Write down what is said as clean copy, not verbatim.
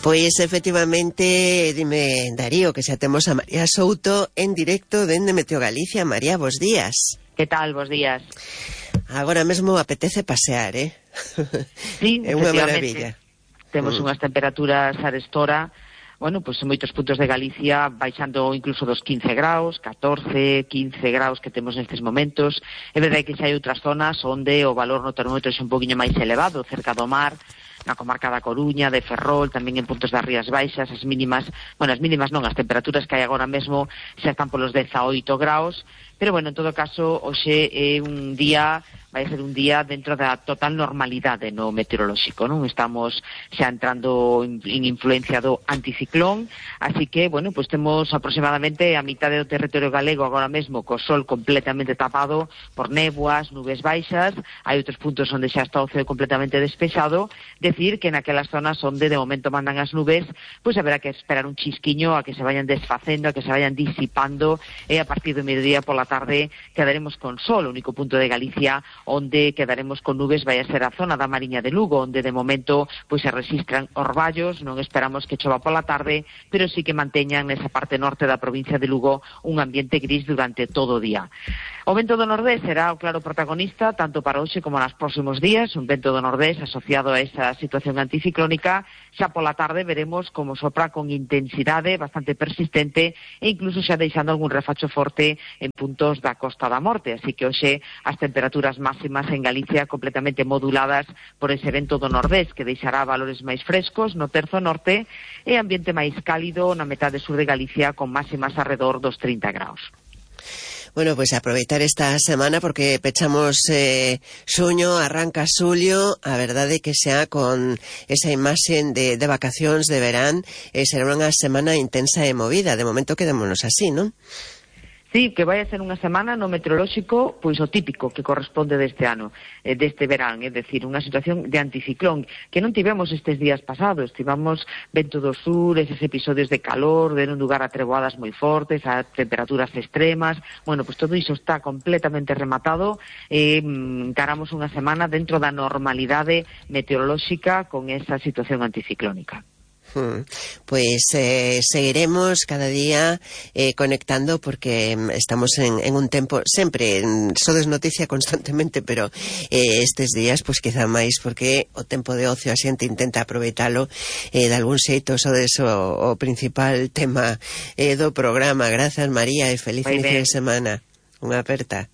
Pois efectivamente, dime Darío, que xa temos a María Souto en directo dende Meteo Galicia. María, bos días. Que tal, bos días? Agora mesmo apetece pasear, Sí, é unha maravilla. Temos unhas temperaturas arestora, bueno, pois en moitos puntos de Galicia baixando incluso dos 15 graus, 14, 15 graus que temos nestes momentos. É verdade que xa hai outras zonas onde o valor no termómetro é un poquinho máis elevado, cerca do mar, na comarca da Coruña, de Ferrol, tamén en puntos das Rías Baixas, as mínimas as temperaturas que hai agora mesmo xa están polos 18 graus, pero bueno, en todo caso, hoxe é vai ser un día dentro da total normalidade no meteorolóxico, non? Estamos xa entrando en influencia do anticiclón, así que, bueno, pues temos aproximadamente a mitade do territorio galego agora mesmo co sol completamente tapado por néboas, nubes baixas, hai outros puntos onde xa está o ceo completamente despexado, decir que naquelas zonas onde de momento mandan as nubes, pues haberá que esperar un chisquiño a que se vayan desfacendo, a que se vayan disipando, e a partir do mediodía pola tarde quedaremos con sol. O único punto de Galicia onde quedaremos con nubes vai a ser a zona da Mariña de Lugo, onde de momento pois se rexistran orballos, non esperamos que chova pola tarde, pero sí que manteñan nesa parte norte da provincia de Lugo un ambiente gris durante todo o día. O vento do nordés será o claro protagonista tanto para hoxe como nos próximos días, un vento do nordés asociado a esa situación anticiclónica. Xa pola tarde veremos como sopra con intensidade bastante persistente e incluso xa deixando algún refacho forte en puntos da Costa da Morte, así que hoxe as temperaturas máximas en Galicia completamente moduladas por ese vento do nordés que deixará valores máis frescos no terzo norte e ambiente máis cálido na metade sur de Galicia con máximas arredor dos 30 graus. Bueno, pues aproveitar esta semana porque pechamos xuño, arranca xulio, a verdade que xa con esa imaxen de vacacións de verán, será unha semana intensa e movida. De momento quedémonos así, non? Sí, que vai a ser unha semana no meteorolóxico, pois o típico que corresponde deste ano, deste verán, é dicir, unha situación de anticiclón, que non tivemos estes días pasados, tivemos vento do sur, eses episodios de calor, deron lugar a treboadas moi fortes, a temperaturas extremas, bueno, pois todo iso está completamente rematado, encaramos unha semana dentro da normalidade meteorolóxica con esa situación anticiclónica. Pues seguiremos cada día conectando porque estamos en un tempo sempre, sodes noticia constantemente, pero estes días pues quizá máis porque o tempo de ocio a xente intenta aproveitalo de algún xeito. Sodes o principal tema do programa. Grazas María e feliz inicio de semana. Unha aperta.